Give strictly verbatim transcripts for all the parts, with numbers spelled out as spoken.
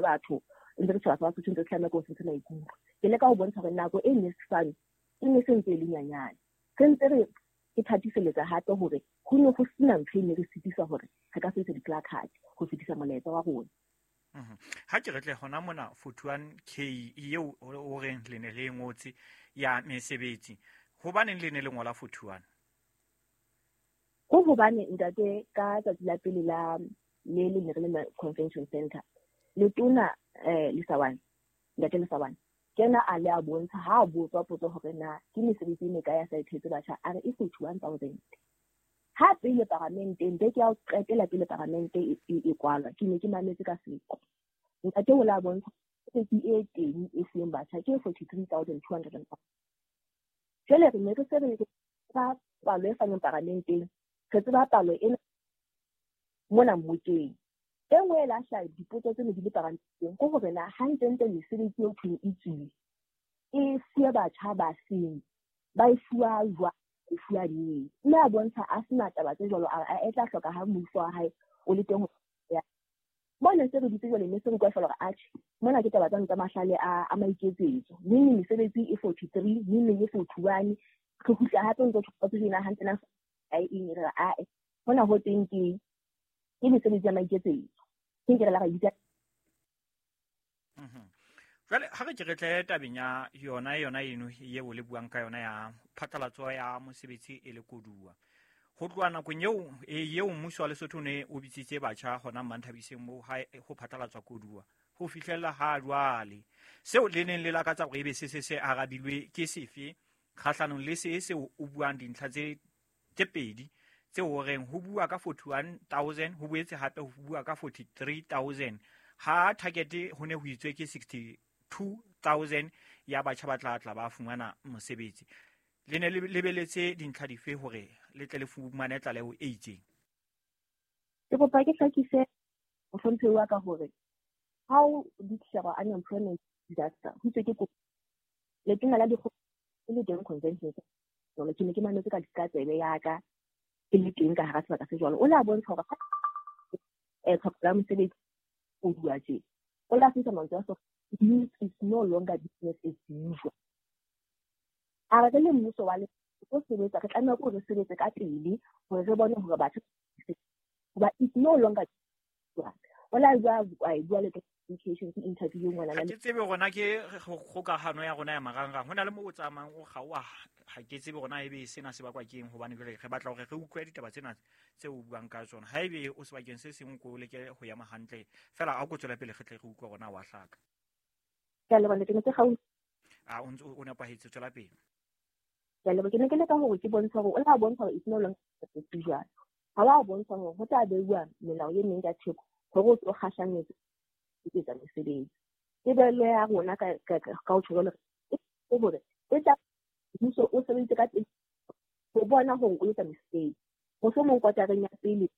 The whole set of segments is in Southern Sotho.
batho ntse re tshaba Basotho ntse tlameha ko se maikutlo. Ke leka ho bontsha hore nako e ne se e ne se ntse e le nyanyane. Re ntse re ke thatiseletsa hape hore ho ne ho sena ntho e ne re sitisa hore re ka sebedisa di-placard ho fetisa molaetsa wa rona. Ha ke re tle hona mona forty-one K eo o reng le ne le ngotse ya mesebetsi, hobaneng le ne le ngola forty-one? Ko hobane ntate ka tsatsi la pele la le le ne re le convention center, letona eh Lesawane, ntate Lesawane kena a le a bontsha ha a botswa potso hore na ke mesebetsi e mekae ya sa ithetse batjha, a re e forty-one thousand. Ha pele paramenteng beke ya ho qetela pele paramente e e kwalwa, ke ne ke mametse ka seqo. Ntate o la bontsha mesebetsi e teng e fuweng batjha ke forty-three thousand two hundred and five. Jwale re ne re se re tseba palo e faneng paramenteng, re tseba palo ena mona mmokeng. E nngwe e lahla dipotso tse ne di le paramenteng ke hore na hantlentle mesebetsi eo thweng e tswile e fuwe batjha ba seng, ba e fuwa jwang, e fuwa neng. Mme a bontsha a sena taba tse jwalo, a e tla hloka ha mmuso wa hae o le teng ho ya. Mona se re ditse jwale mme se re utlwa feela hore atjhe, mona ke taba tsane tsa mahlale a a maiketsetso. Neng neng mesebetsi e forty-three, neng neng e forty-one. Re kgutla hape ntse re tshwana tsena hantle na a e eng re a e. Hona ho teng ke ke mesebetsi ya maiketsetso. Ke nke re la ra bitsa. Mhm. Jwale ha re ke re tle tabeng ya yona yona eno eo le buang ka yona ya phatlalatso ya mosebetsi e le koduwa. Ho tloha nakong eo eo mmuso wa Lesotho ne o bitsitse batjha hona Manthabiseng moo ha ho phatlalatswa koduwa ho fihlella ha jwale. Seo le neng le lakatsa hore ebe se se se arabilwe ke sefe kgahlanong le se seo o buang dintlha tse tse pedi tse o reng ho bua ka forty-one thousand, ho boetse hape ho bua ka forty-three thousand. Ha target ho ne ho itswe ke sixty-two thousand ya batjha ba tla tla ba fumana mosebetsi. Le ne le lebeletse dintlha dife hore le tle le fumane tlaleho e itseng? Ke kopa ke hlakise mohlomphehi wa ka hore ha o declare unemployment disaster, ho itswe ke kopo. Letona la dikgopo e le teng convention jwalo, ke ne ke mametse ka ka tsebe ya ka e le teng ka hara sebaka se jwalo. O la bontsha hore eh tlhoko ya mosebetsi o bua tje. O la fihla mantswe a so, youth is no longer business as usual. A re le mmuso wa le o sebetsa, re tlameha hore re sebetse ka pele hore re bone hore batho hoba it's no longer usual. O la bua, a bua le communication ke interview ngwana Ha ke tsebe hore na ke kgokahano ya rona ya marangrang. Ho na le moo o tsamayang o kgaoha, ha ke tsebe hore na ebe sena se bakwa ke eng, hobane jwale re batla hore re utlwe ditaba tsena tse o buang ka tsona. Ha ebe o sebakeng se seng ko leke ho ema hantle fela, ha o ko tswela pele re tle re utlwe hore na wa hlaka. Ke a leboha, ke ne ke kgaohile. A o ntse o nepahetse, tswela pele. Ke a leboha, ke ne ke leka hore ke bontshe hore o la bontsha hore it's no longer usual. Ha wa bontsha hore ho tla beuwa melao e meng ka theko hore o tlo kgahlanyetsa ho etsa mesebetsi. Tebello ya rona ka ka ka ho tjho jwalo ke hore e tla mmuso o sebeditse ka pele ho bona hore o etsa mesebetsi. Mohlomong kotareng ya pele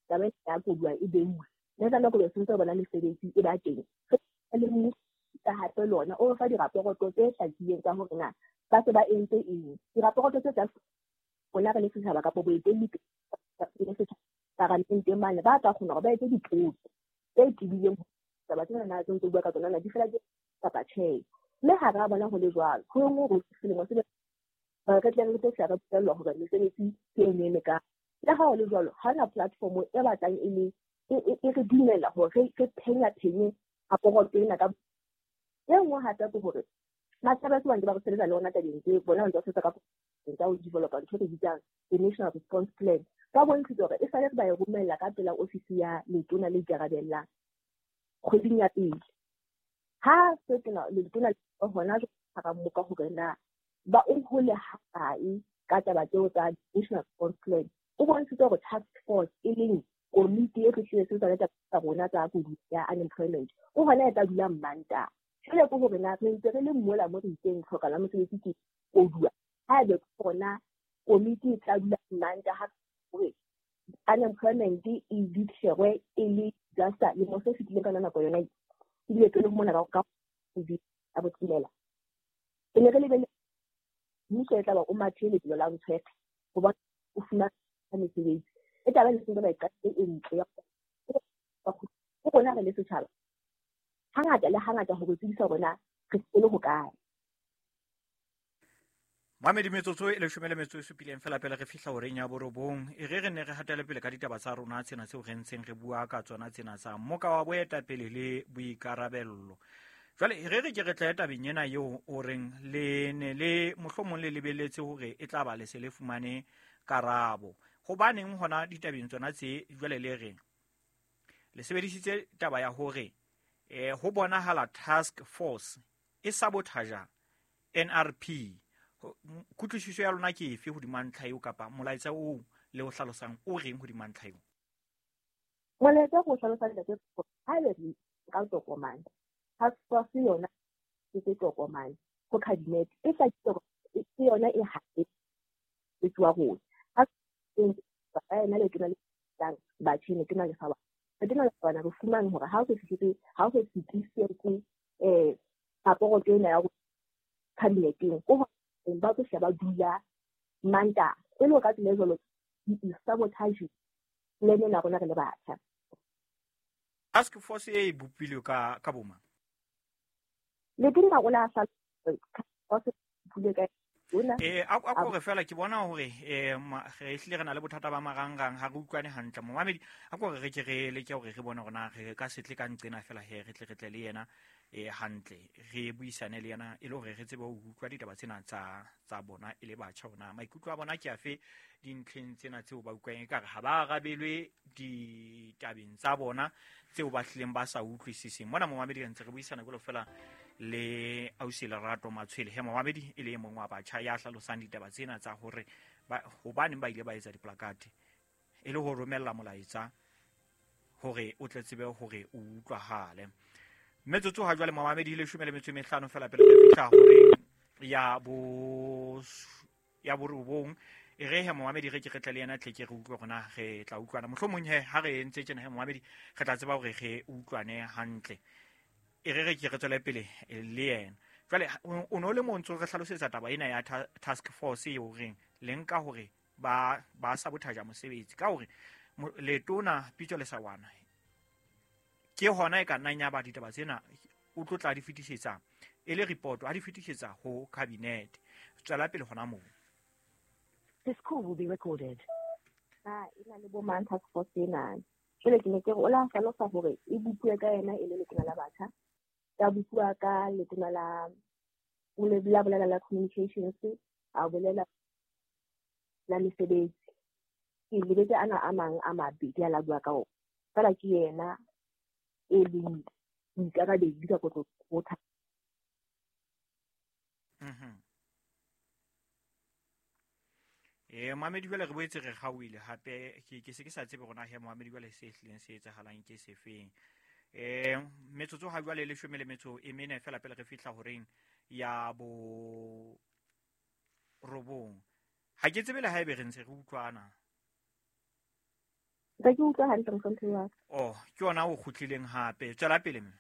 taba ya koduwa e beuwe. Mme ka nako eo se ntse bona mesebetsi e ba teng. Re le mmuso ka hape lona o fa diraporoto tse hlakileng tsa hore na ba se ba entse eng. Diraporoto tse tsa rona re le setjhaba kapa boetelli le setjhaba paramenteng mane ba tla kgona hore ba etse dipotso tse tebileng taba tsena na tse ntse bua ka tsona na di fela ke kapa tjhe. Mme ha ra bona ho le jwalo, ho nngwe hore selemo se re re tle re tlo fihla re bolellwa hore mesebetsi ke eng e mekae. Le ha ho le jwalo, ha hona platform e batlang e le e e re dumela hore re phenya phenye raporoto ena ka e nngwe hape ke hore matjhaba se bang ba re sebetsa le ona tabeng tse bona ba ntse ba sebetsa ka tsa ho developa ntho e re bitsang the National Response Plan. Ba bontshitse hore e sale re ba e romella ka pela ofisi ya letona le ikarabellang kgweding ya pele. Ha se tena letona le hona jwale mmoka hore na ba o hole hakae ka taba tseo tsa National Response Plan. O bontshitse hore task force e leng komiti e tlo sebetsa le taba tsa rona tsa koduwa ya unemployment o hona e tla dula Mantaha. Jwale ke hore na re ntse re le mola mo re itseng tlhoka la mosebetsi ke koduwa. Haebe ke hona komiti e tla dula Mantaha hore unemployment e declare e le disaster lemo se fetileng ka nako yona ebile pele ho mona ka ka a botshelela. E ne re lebelle mmuso e tla ba o mathe lebelo la ntshwethe hobane o fumana mesebetsi. E taba e seng ba e qadile e ntle ya ho rona re le setjhaba. Hangata le hangata ho re tsebisa hore na re le hokae. Mamedi metsotso e leshome le metso e supileng fela pele re fihla horeng ya borobong. E re re ne re hatele pele ka ditaba tsa rona tsena tseo re ntseng re bua ka tsona tsena tsa moka wa boetapele le boikarabello. Jwale re re ke re tle tabeng ena eo o reng le ne le mohlomong le lebeletse hore e tla ba le se le fumane karabo. Hobaneng hona ditabeng tsona tse jwale le reng le sebedisitse taba ya hore eh ho bonahala task force e sabotage N R P. Kutlwisiso ya lona ke efe hodima ntlha eo kapa molaetsa oo le o hlalosang o reng hodima ntlha eo? Molaetsa go hlalosang ntate ha le re ka tokomane task force yona ke tokomane go cabinet e tla ke yona e hape e tswa rona. Ha ba ena le tona le tlang ba tshene tona le fa ba tona le bana re fumane hore ha o se fihletse ha o se fihletse eh raporo ena ya cabineteng ko ba tlo sheba dula manta e le ka tsela jalo di sabotage le nna rona re le batjha. Task force e bopilwe ka ka boma le teng o la sa force bule ka eh a a go re fela ke bona hore eh re hlile re na le bothata ba marangrang ha re utlwane hantle momamedi a go re re ke re le ke hore re bone hore na re ka setle ka nqena fela he re tle re tle le yena eh hantle re buisane le yena e le hore re tsebe ho utlwa ditaba tsena tsa tsa bona e le batjha hona maikutlo a bona ke afe dintlheng tsena tseo ba utlwang e kare ha ba arabelwe ditabeng tsa bona tseo ba hlileng ba sa utlwisiseng. Mona momamedi re ntse re buisana jalo fela le ausi Lerato Matshwele he momamedi e le mong wa batjha ya hlalosang ditaba tsena tsa hore hobaneng ba ile ba etsa diplakate e le ho romella molaetsa hore o tle tsebe hore o utlwahale. Metsotso ha jwale momamedi le leshome le metso e mehlano fela pele re fihla hore ya bo ya borobong e re he momamedi re ke re tle le yena tle ke re utlwe rona re tla utlwana mohlomong he ha re entse tjena he momamedi re tla tseba hore re utlwane hantle. E re re ke re tswele pele le yena. Jwale o no le montso re hlalosetsa taba ena ya task force eo reng le nka hore ba ba sabotage mosebetsi ka hore letona Pitso Lesawana ke hona e ka nnang ya ba ditaba tsena o tlo tla di fetisetsa e le report a di fetisetsa ho cabinet. Tswela pele hona moo. This call will be recorded. Ah ina le bo mang task force ena. Jwale ke ne ke re o la hlalosa hore e bupuwe ka yena e le letona la batjha ya bua ka letona la o le la bolela la communications a bolela la mesebetsi ke lebetse ana a mang a mabedi a la bua ka ona fela ke yena e leng boikarabedi ka kotlo ho. Mhm. Eh Mohamedi jwale re boetse re kgaohile hape ke ke se ke sa tsebe rona he Mohamedi jwale se hlileng se etsahalang ke sefeng. Eh metsotso ha jwale le leshome le metso e mene fela pele re fihla horeng ya bo robong. Ha ke tsebe le haebe re ntse re utlwana. Ke ke utlwa hantle mohlomphehhi wa ka. Oh, ke yona o kgutlileng hape. Tswela pele mme.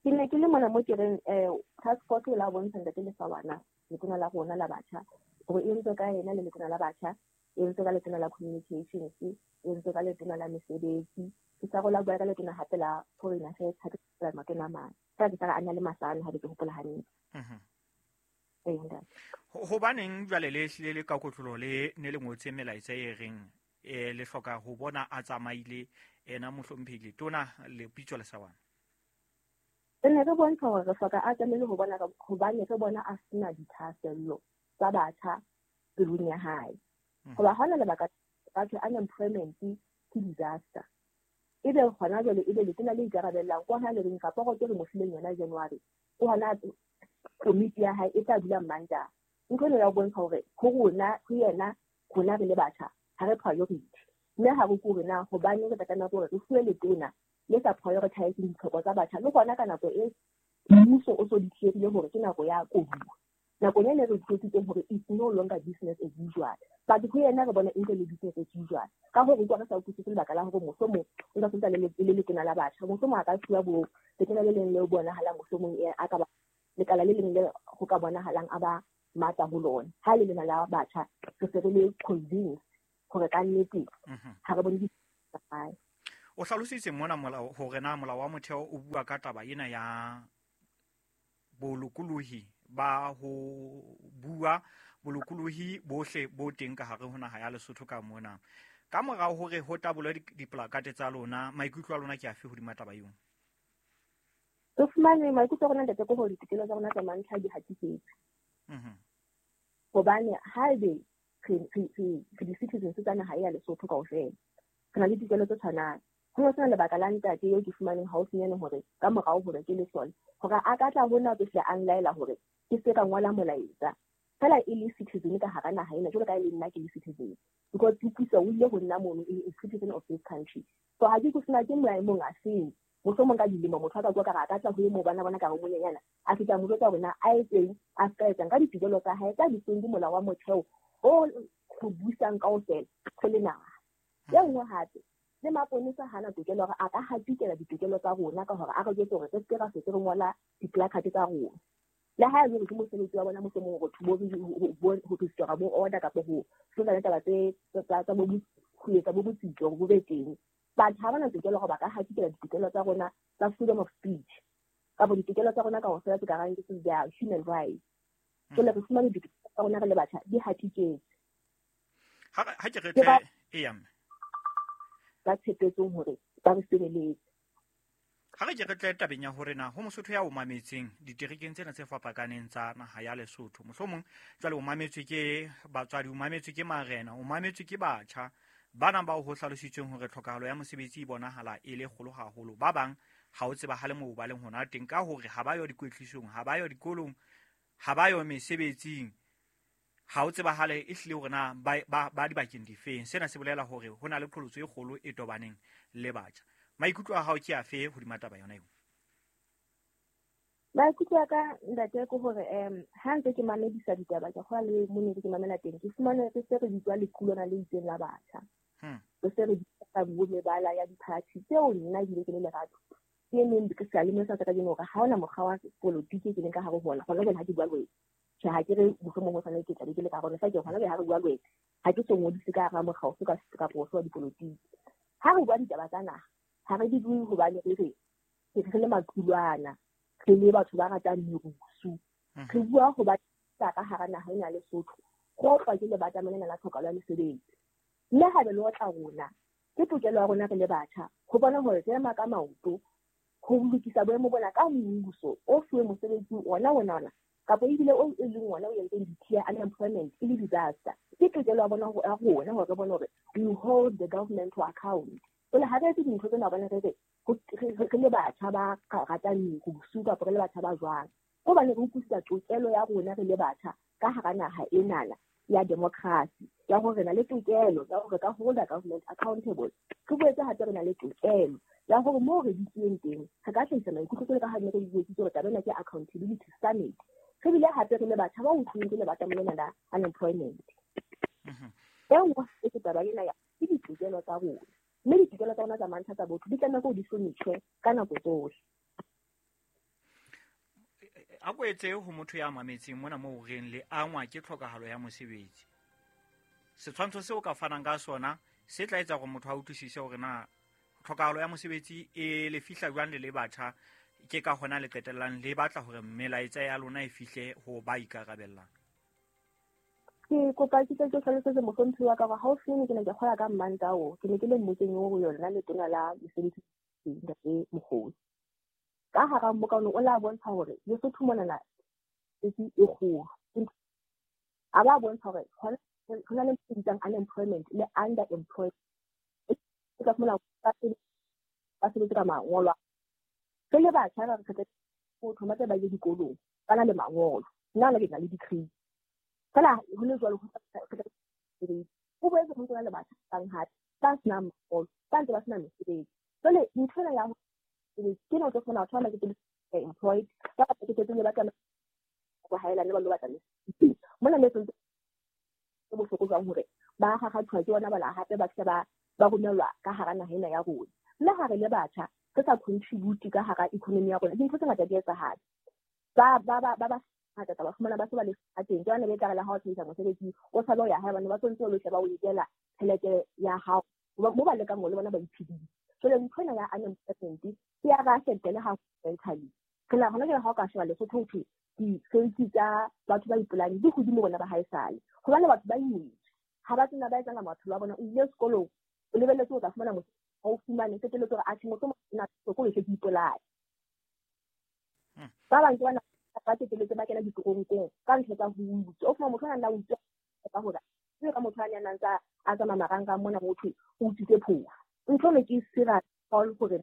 Ke ne ke le mona mo ke reng eh task force e la bontsha ntate Lesawana letona la rona la batjha hore e ntse ka yena le letona la batjha e ntse ka letona la communications e ntse ka letona la mesebetsi ke sa rola bua ka letona hape la foreign affairs ha ke la matona mang ka ke sa ana le masana ha ke hopola hantle. Mhm. Eh ntate hobaneng jwale le hlile le ka kotlolo le ne le ngotse melaetsa e reng e le hloka ho bona a tsamaile ena mohlomphehi tona le Pitso Lesawana? Re ne re bontsha hore re hloka a tsamaile ho bona hobane re bona a sena dithahasello tsa batjha pelong ya hae. Hoba hona lebaka batho unemployment ke disaster. Ebe hona jwale ebe letona le ikarabellang kwa ha le reng raporo ke re mo fileng yona January o hona komiti ya hae e tla dula Mantaha. Ntho ena ya ho bontsha hore ho rona ho yena rona re le batjha ha re priority. Mme ha re kore na hobane re tla tlameha hore re fuwe letona le sa prioritize ditlhoko tsa batjha le hona ka nako e mmuso o so declare hore ke nako ya koduwa. Nakong ene re utlwisitseng hore it's no longer business as usual. But ho yena re bona e ntse le business as usual. Ka hore utlwa re sa utlwisise lebaka la hore mohlomong o ntse sentse le le letona la batjha mohlomong a ka fuwa bo letona le leng le bonahalang mohlomong a ka ba lekala le leng le ho ka bonahalang a ba matla ho lona. Ha le lena la batjha re se re le convinced hore ka nnete ha re bone di. O hlalositse mona molao hore na molao wa motheo o bua ka taba ena ya bolokolohi ba ho bua, bolokolohi bohle bo teng ka hare ho naha ya Lesotho ka mona. Ka morao hore ho tabolwe diplakate tsa lona, maikutlo a lona ke afe hodima taba eo? Re fumane maikutlo a rona ntate ke hore ditokelo tsa rona tsa mantlha di hatisetswe. Mhm. Hobane haebe re re re di-citizens tsa naha ya Lesotho kaofela, re na le ditokelo tse tshwanang. Ho sena lebaka la ntate eo ke fumaneng haufinyane hore ka morao hore ke lesole, hore a ka tla ho nna tsohle a nlaela hore ke se ka ngola molaetsa. Fela e le citizen ka hara naha ena, jwalo ka e le nna ke le citizen. Because Puso o ile ho nna mono e citizen of this country. So ha ke kusina ke maemong a seng. Mohlomong ka dilemo motho a ka bua ka re a ka tla ho e mo bana bona ka re monyenyana, a fihla mo jwetsa hore na a etseng, a ska etsang ka ditokelo tsa hae tsa ditsweng ke molao wa motheo o ho busang kaofela re le naha. E nngwe hape, le maponesa hana tokelo hore a ka hatikela ditokelo tsa rona ka hore a re jwetse hore re se ke ra se re ngola di-placard tsa rona. Le ha e le hore ke mosebetsi wa bona mohlomong hore bo ho restore bo order kapa ho hlola taba tse tsa bo ho etsa bo botsitso hore bo be teng. Batho ha bana tokelo hore ba ka hatikela ditokelo tsa rona tsa freedom of speech kapa ditokelo tsa rona kaofela tse ka rang ke their human rights. Jwale re fumane ditokelo tsa rona re le batjha di hatiketswe. Ha ha ke re tle e ya mme ba tshepetseng hore ba re sebeletse. Ha re ke re tle tabeng ya hore na ho Mosotho ya o mametseng diterekeng tsena tse fapakaneng tsa naha ya Lesotho, mohlomong jwale o mametswe ke batswadi, o mametswe ke marena, o mametswe ke batjha bana bao ho hlalositsweng hore tlhokahalo ya mosebetsi e bonahala e le kgolo haholo. Ba bang ha o tsebahale moo ba leng hona teng ka hore ha ba yo dikwetlisong, ha ba yo dikolong, ha ba yo mesebetsing, ha o tsebahale e hlile hore na ba ba, ba dibakeng difeng. Sena se bolela hore ho na le qholotso e kgolo e tobaneng le batjha. Maikutlo a hao ke afe hodima taba yona eo? Maikutlo a ka ntate ke hore um ha ntse ke mamedisa ditaba ke kgola le mo ne ke mamela teng, ke fumane re se re bitswa lequlwana le itseng la batjha. Re se re bitsa bo mebala ya di-party tseo nna ebile ke le lerato. Ke neng ke sa le sa ka kajeno hore ha hona mokgwa wa polotiki ke leng ka hare ho ona. Hona jwale ha ke bua le wena, tjhe ha ke re mohlomong ho tshwanetse ke tlabe ke le ka hare ho ona. Ke hona jwale ha re bua le wena, ha ke so ngodise ka hara mokga ofe kapa ofe wa dipolotiki. Ha re bua ditaba tsa naha, ha re di bue hobane re re re le maqulwana, re le batho ba ratang merusu. Re bua hobane ka hara naha ena ya Lesotho, go otlwa ke lebatama lena la tlhokahalo ya mesebetsi. Mme haebe le otla rona, ke tokelo ya rona re le batjha ho bona hore re ema ka maoto ho lokisa boemo bona ka mmuso o fuwe mosebetsi ona ona ona kapa ebile o e leng ona o entseng declare unemployment e le disaster. Ke tokelo ya bona ya rona hore re bone hore we hold the government to account. Jwale ha re etse dintho tsena hobane re re re le batjha ba ratang merusu kapa re le batjha ba jwang, hobane re utlwisisa tokelo ya rona re le batjha ka hara naha enana ya democracy ya hore re na le tokelo ya hore ka hold the government accountable. Re boetse hape re na le tokelo ya hore moo re dutseng teng re ka hlahisa maikutlo jwalo ka ha ne re buetse hore taba ena ke accountability summit. Re bile hape re le batjha ba utlwileng ke lebatama lena la unemployment. E nngwe ke taba ena ya ke ditokelo tsa rona, mme ditokelo tsa rona tsa mantlha tsa botho di tlameha hore di hlonitjhwe ka nako tsohle. A ko etse ho motho ya mametseng mona moo reng le angwa ke tlhokahalo ya mosebetsi. Setshwantsho seo ka fanang ka sona se tla etsa hore motho a utlwisise hore na tlhokahalo ya mosebetsi e le fihla jwang le le batjha, ke ka hona le qetellang le batla hore melaetsa ya lona e fihle ho ba ikarabellang. Ke kopa ke tle ke hlalosetse mohlomphehi wa ka hore haufinyane ke ne ke kgola ka Mmantao, ke ne ke le mmokeng oo yona letona la mesebetsi ntate Mokgosi. Ka hara mmokano o la bontsha hore Lesotho monana e kgolo. A ba bontsha hore ho na le ntho e bitswang unemployment le underemployment. E ka fumana ba sebetse ka mangolo. Re le batjha ba re kgetha ho thoma tse ba ye dikolong, ba na le mangolo. Nna le ke na le degree. Fela ho le jwalo ho ho boetse ho ntse le batjha bang hape ba senang mangolo, ba ntse ba sena mesebetsi. Jwale ntho ena ya ke no tlo fumana batho ba ke employed ba ba ke tsele ba tsamaya go haelane ba lo batla mesebetsi. Mona le sentse bohloko jwang hore ba gagathwa ke bona bala hape ba tle ba ba romelwa ka hara naha ena ya rona. Mme ha re le batjha re sa contribute ka hara economy ya rona, dintho tse ngata di etsahala. Ba ba ba ba ngata ba fumana ba se ba le teng. Ke bana ba tla re la ha o tshehisa mosebetsi o sa lo ya hae bana ba tsontse o lo sheba o ikela tjhelete ya hao mo ba lekang le bona ba iphedisa. Jwale ntho ena ya unemployment e ya ba affecta le ha mentally. Re la hona jwale ha o ka sheba Lesotho ho thwe di-safety tsa batho ba ipolayang di hodimo bona ba haesale. Hobane batho ba imetswe, ha ba tsena ba etsang maphelo a bona. O ile sekolong, o lebelletse o tla fumana mosebetsi, ha o fumane, qetelletse hore atjhe mohlomong nna sekolo se ke ipolaya. Ba bang ke bana ba qetelletse ba kena ditoronkong ka ntho tsa ho utswa. O fumana motho a nna utswa ka hore ke ka motho a nang tsa a tsamaya marangrang mona ho thwe o utswitse phofu. Ntho eno ke serious hore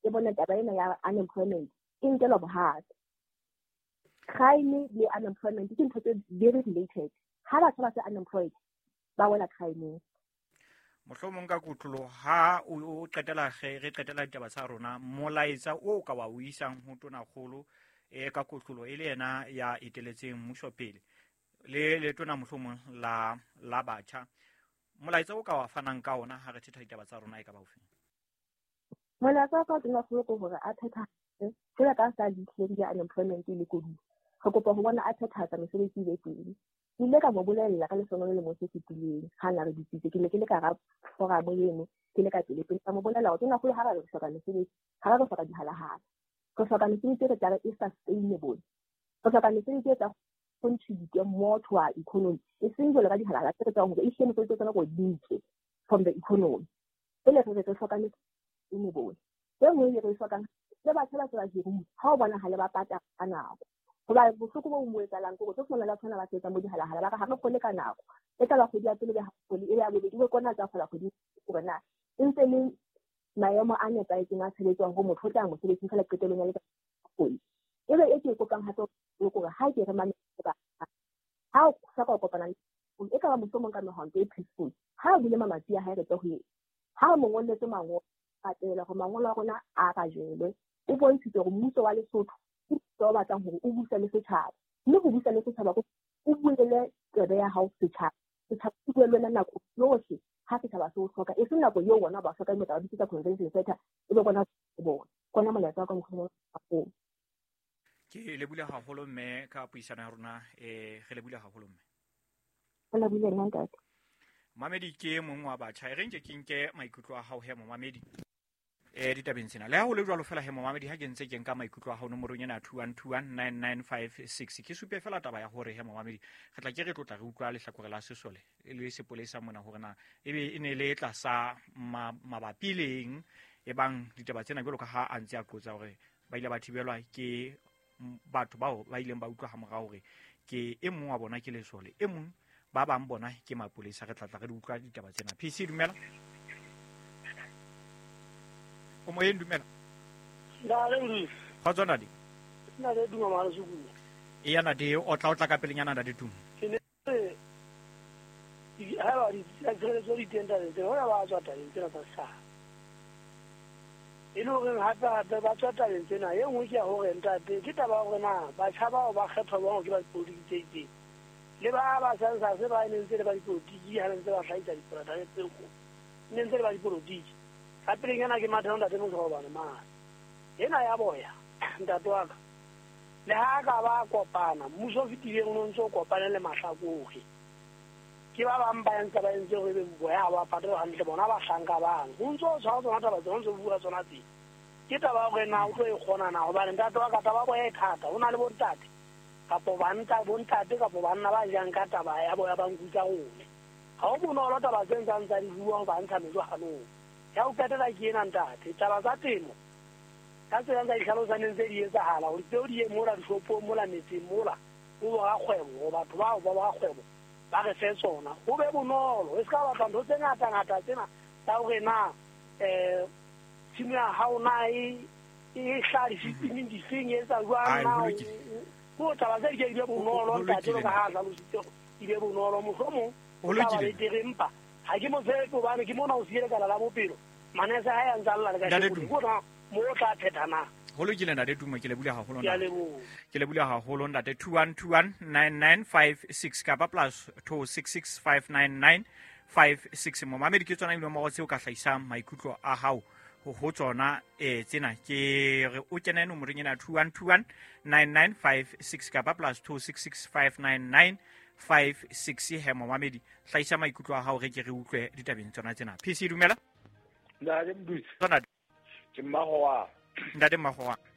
ke bone taba ena ya unemployment e nkelwa bohato. Crime le unemployment ke ntho tse very related. Ha batho ba se unemployed ba wela crime. Mohlomong ka kutlolo ha o qetela re qetela ditaba tsa rona, molaetsa o ka wa o isang ho tonakgolo e ka kutlolo e le yena ya eteletseng mmuso pele le le tona mohlomong la la batjha, molaetsa o ka wa fanang ka ona ha re thetha ditaba tsa rona e ka ba ofe? Molaetsa ka tonakgolo ke hore a phethahatse jwalo ka sa lehleng ya unemployment le koduwa. Re kopa ho bona a phethahatsa mesebetsi e be teng. Ke ile ka mo bolella ka lesono le lemo se fetileng ha na re bitsitse, ke ne ke le ka hara forum eno, ke le ka pele pele ka mo bolella hore tonakgolo ha re hloka mesebetsi, ha re hloka dihalahala, re hloka mesebetsi e re tla re e sustainable, re hloka mesebetsi e tla contribute more to our economy, e seng jwalo ka dihalahala tse re tsebang hore ehlile mesebetsi tsena ko di ntswe from the economy. Pele re re re hloka mesebetsi sustainable. E nngwe e re e hlokang le batho ba se ba hiruwe, ha o bonahale ba patala ka nako. Hoba bohloko bo mo etsahalang ke hore tlo fumana le batho ba sebetsang bo dihalahala ba re ha re kgole ka nako. E tla ba kgwedi ya pele be ha kgole, e be ya bobedi, e be kona tsa kgola kgwedi hore na e ntse le maemo a nepahetseng a tshebetso hore motho o tla mosebetsing feela qetellong ya letsatsi kgwedi. E be e ke e kopang hape hore ha ke re mametse ba ha o hloka ho kopana le e ka ba mohlomong ka mehwanto e peaceful, ha o bule mamati a hae re tle ho yena, ha o mo ngolletse mangolo a tela hore mangolo a rona a rajelwe, o bontshitse hore mmuso wa Lesotho ke mmuso o batlang hore o buse le setjhaba, mme ho busa le setjhaba o buele tsebe ya hao setjhaba, setjhaba se bue le wena nako yohle ha setjhaba se o hloka, e seng nako eo bona ba hloka ba bitsetsa convention center e be bona bona kona molaetsa wa ka mokgwa o. Ke lebule haholo mme ka puisano ya rona, eh re lebule haholo mme. Re lebule nna ntate. Mamedi ke mong wa batjha, e re nke ke nke maikutlo a hao he momamedi eh ditabeng tsena. Le ha ho le jwalo fela he momamedi, ha ke ntse ke nka maikutlo a hao nomorong ena two one two one nine nine five six, ke supe fela taba ya hore he momamedi re tla ke re tlotla re utlwa lehlakore la sesole le sepolesa mona hore na ebe e ne le tlasa mabapi leng e bang ditaba tsena jwalo ka ha a ntse a qotsa hore ba ile ba thibelwa ke batho bao ba ileng ba utlwa ha morao hore ke e mong wa bona ke lesole, e mong ba bang bona ke mapolesa. Re tla tla re di utlwa ditaba tsena. P C dumela. O moyeng dumela. Nda Kgotso ntate. Nna le duma mara sukulu. E ya ntate, o tla o tla ka pelenyana ntate Tumo. Ke ne ha ba di tshireletso di teng tabeng tsena, hona ba tswa tabeng tsena tsa setjhaba. E le hore hape hape ba tswa tabeng tsena, e nngwe ke ya hore ntate ke taba ya hore na batjha bao ba kgethwa jwang ke ba dipolotiki tse itseng, le ba ba census ba ne ntse le ba dipolotiki ha ntse ba hlahisa diporata tseo, ne ntse le ba dipolotiki. Ka pelenyana ke matha ntate Moshobane mane ena ya boya ntate wa ka, le ha ka ba kopana mmuso o fetileng o ntse o kopane le mahlakore, ke ba bang ba entse ba entse hore boya ha ba patale hantle bona bahlanka bang ho ntso o tshwara tsona taba tsena, o ntso bua tsona tse. Ke taba ya hore na o tlo e kgona na, hobane ntate wa ka taba ya boya e thata. Ho na le bontate kapo banta bontate kapo banna ba jang ka taba ya boya ba nku tsa rona. Ha ho bonolo taba tse ntsang tsa di bua ho ba ntsha mejo hanong. Ya ho qetela ke ena ntate, taba tsa temo ka tsela tsa ditlhalosaneng tse di etsahala hore tseo di ye mola dishopong mola metseng mola ho borakgwebo, ho batho bao ba borakgwebo ba re fe tsona, ho be bonolo. E se ka batla ntho tse ngata-ngata tsena tsa hore na um tshimo ya hao na e e hlaha dififing difeng e etsa jwang na, ko taba tse di ke di be bonolo ntate, jwalo ka ha a hlalositse di be bonolo. Mohlomong Ho lokile. Betere empa ha ke mo tshepe hobane ke mona o siele kala la bophelo. Manese ha ya ntsa lla le ka Ntate sheko. Bona mo o tla phetha na. Ho lokile ntate Tumo, ke lebohile haholo Ke a ntate. leboha. Ke lebohile haholo ntate. Two one two one nine nine five six kapa plus two six six five nine nine five six. Momamedi ke tsona dinomoro tseo ka hlahisang maikutlo a hao ho ho tsona eh tsena. Ke re o kene nomorong ena two one two one nine nine five six kapa plus two six six five nine nine five six. He momamedi, hlahisa maikutlo a hao re ke re utlwe ditabeng tsona tsena. P C dumela. Ntate Mdusi, Tsona ke mmago wa ntate mmago wa.